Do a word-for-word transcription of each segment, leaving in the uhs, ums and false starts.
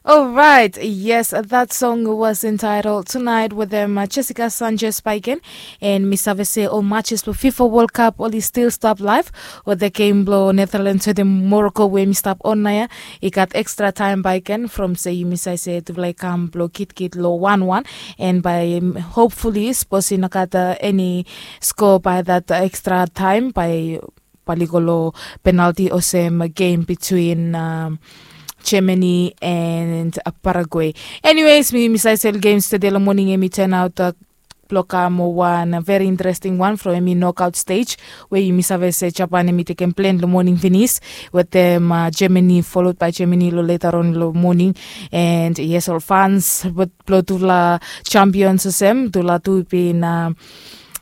Alright, yes, that song was entitled Tonight with um, uh, Jessica Sanchez Baiken. And mi save se ol matches for FIFA World Cup oli still stop live. With the game blo Netherlands with the Morocco wey mi stop on naya. I gat extra time baiken from se yumi save se tufala i kam blo kitkit lo one one. And by um, hopefully suppose i no gat uh, any score by that uh, extra time by bae oli go lo penalty olsem game between um, Germany and uh, Paraguay. Anyways, mi mi save se ol games tede lo morning em i turn out uh, blo kam wan uh, very interesting one from hemi knockout stage wey yumi save se Japan hemi tekem plen lo morning finis wetem uh, Germany followed by Germany lo later on lo morning. And yes, ol fans blo tufala champions olsem tufala tu bin uh,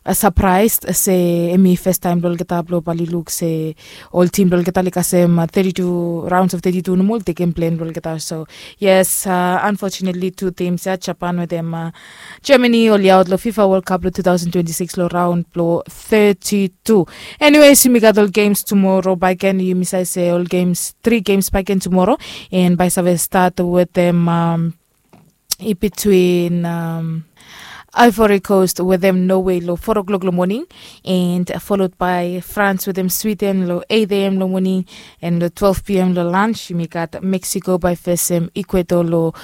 uh, surprised se hemi first time blo olgeta blo bae oli luk se ol team blo olgeta oli kasem uh, thirty-two rounds of thirty-two nomo oli tekem plen blo olgeta. So yes, uh, unfortunately two teams ya Japan wetem uh, Germany oli out lo FIFA World Cup lo two thousand twenty-six lo round blo thirty-two. Anyways, yumi gat ol games tomorrow baiken, yumi save se ol games three games baiken tomorrow. And bae save start wetem um, i between um, Ivory Coast wetem Norway lo four o'clock lo morning, and followed by France wetem Sweden lo eight a.m. lo morning, and lo twelve p.m. lo lunch yumi gat Mexico bae fesem Ecuador lo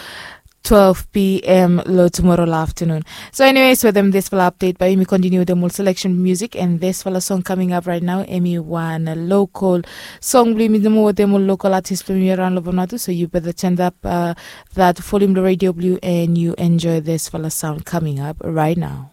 twelve p.m. lo tomorrow lo afternoon. So anyways, wetem disfala update bae yumi continue wetem ol selection music, and disfala song coming up right now hemi wan local song blo yumi nomo wetem ol local artist blo yumi around lo Vanuatu. So you better turn up uh, that volume lo radio blo yu and you enjoy disfala sound coming up right now.